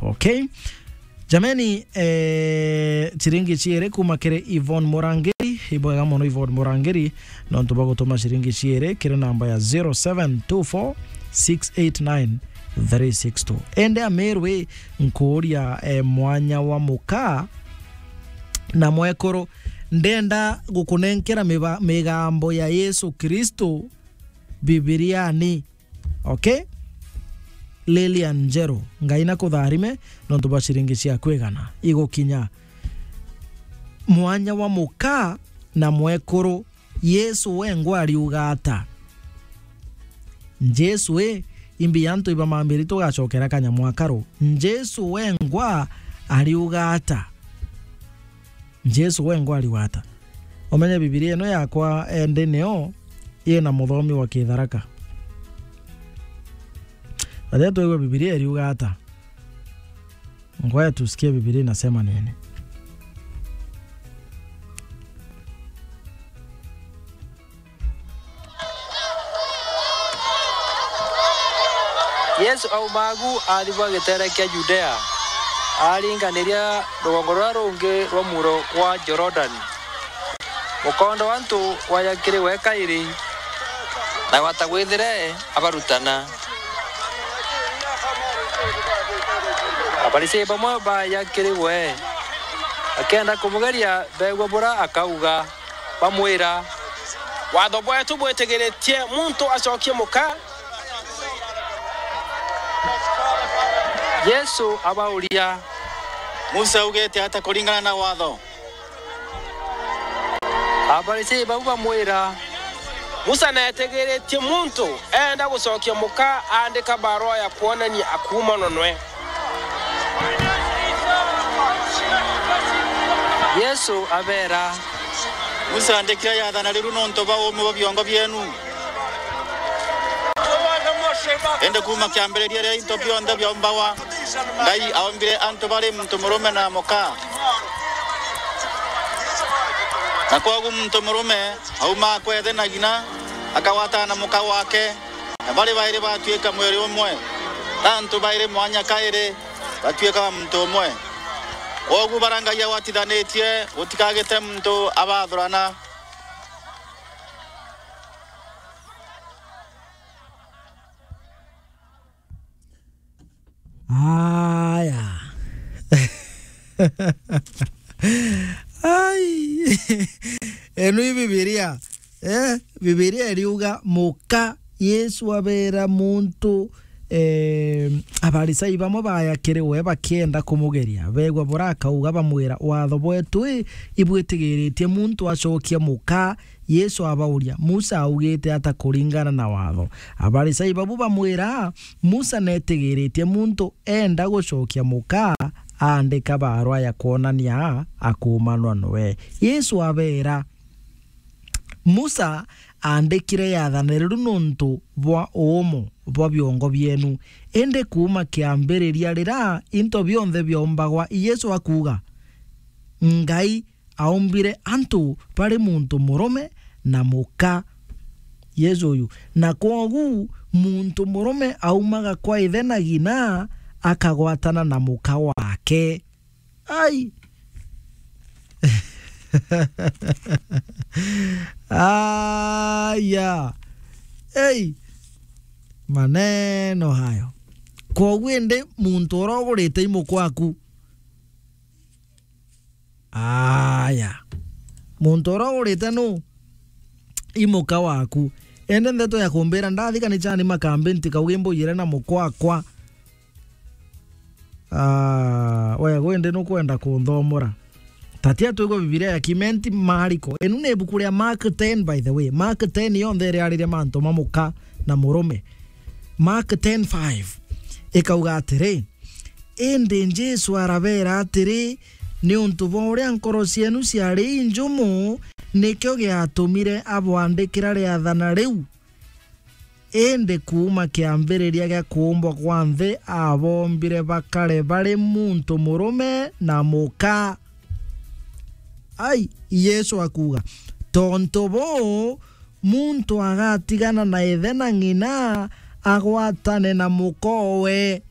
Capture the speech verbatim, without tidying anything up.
Okay? Jameni, eh, ciringi ciiri kuma kiri Yvonne Murangiri. Ibwega mono Yvonne Murangiri, nontu bwa gutuma ciringi ciiri kiri namba ya zero seven two four six eight nine three six two. Ende Ameru ii, nkuuria, eh, mwanya wa muka na mwekuru, ndenda gukunenkera miba-, migambo ya Yesu Kristo Bibiriani. Okay? Lilian Njeru, Ngai nakutharime nontu bwa ciringi ciaku igana igukinya. Mwanya wa muka na mwekuru, Yesu wengwa ariuga ata? Jesu ii, imbi antu ibamambiri tugacokera kanyamu akaru. Jesu wengwa ariuga ata? Jesu wengwa ariuga ata? Umenye Bibilia ino yakwa endi nio ina muthomi wa Kitharaka. Aria twigua Bibilia iriuga ata? Ngoja tusikie Bibilia inasema nini. Yesu auma agu athibwa gitere kia Judea, aringaniria rugongo ruria rungi rwa muro gwa Jorodani. Mukondo wa antu waja kiri we kairi, na gwata gwithire abarutana. Afarisai bamwe baja kiri we, bakienda kumugeria beegua bura akauga. Bamwira, "Watho bwetu bwitigiritie muntu acokie muka." Yesu abauria, "Musa augite ata kuringana na watho?" Afarisai bau bamwira, "Musa neetigiritie muntu eenda gucokia muka aandika barua ya kwonania akuumanwa nwe." Yesu abeera, "Musa aandikire yaathana riru nontu bwa uume bwa biongo bieenu. Indi kuuma kiambiriria riria into bionthe biaumbagwa, Ngai aumbire antu bari muntu murume na muka. Na kwogu muntu murume aumaa kwa ithe na ng'ina, akagwatana na muka waake, na bari bairi batuika mwiri umwe. Ti antu bairi mwanya kairi, batuikaga muntu umwe. Kwogu baria Ngai agwatithanitie, gutikagite muntu abathurana." Aya. Ai. Enu i Bibilia. Eh, Bibilia iriuga muka Yesu abeera muntu, eh, Afarisai bamwe baaya kiri we bakienda kumugeria. Beegua burakauga bamwira, "Watho bwetu i, ibwitigiritie muntu acokia muka." Yesu abauria, "Musa augite ata kuringana na watho?" Afarisai babu bamwira, "Musa netigiritie muntu eenda gucokia muka aandika barua ya kwonania akuumanwa noe." Yesu abeera, "Musa aandikire yaathane riru nontu bwa uumo bwa biongo bieenu, indi kuuma kiambiriria riria into bionthe biaumbagwa," Yesu akuuga, "Ngai aumbire antu bari muntu murume na muka." Yesu uyu. "Na kwogu muntu murume aumaga kwa ithe na ng'ina, akagwatana na muka waake." Ai. Aya. Ei. Maneno hayo. Kwogu indi muntu uria ugurite imuka waku. Aya. Muntu uria ugurite nu? Imuka waku. Indi ndeto ya kumbira ndathi kanichani makambi ntikauge mbujire na muka wakwa. Ah, we, gwe ndi nukwenda kunthomora. Tatia twigwe Bibilia ya Kimenti Mariko. Inu ni ibuku ria Mark ten, by the way. Mark ten yonthe iriariria mantu ma muka na murume. Mark ten five ikauga atiri, indi Jesu arabeera atiri, niuntu bwa uria nkoro cienu ciari injumu, nikio giatumire abwandikira riathana riu. Indi kuuma kiambiriria gia kuumbwa kwa nthi, aboombire bakare bari muntu murume na muka. Ai, Yesu akuuga, tontu buu, muntu agatigana na ithe na ng'ina, agwatane na mukowe.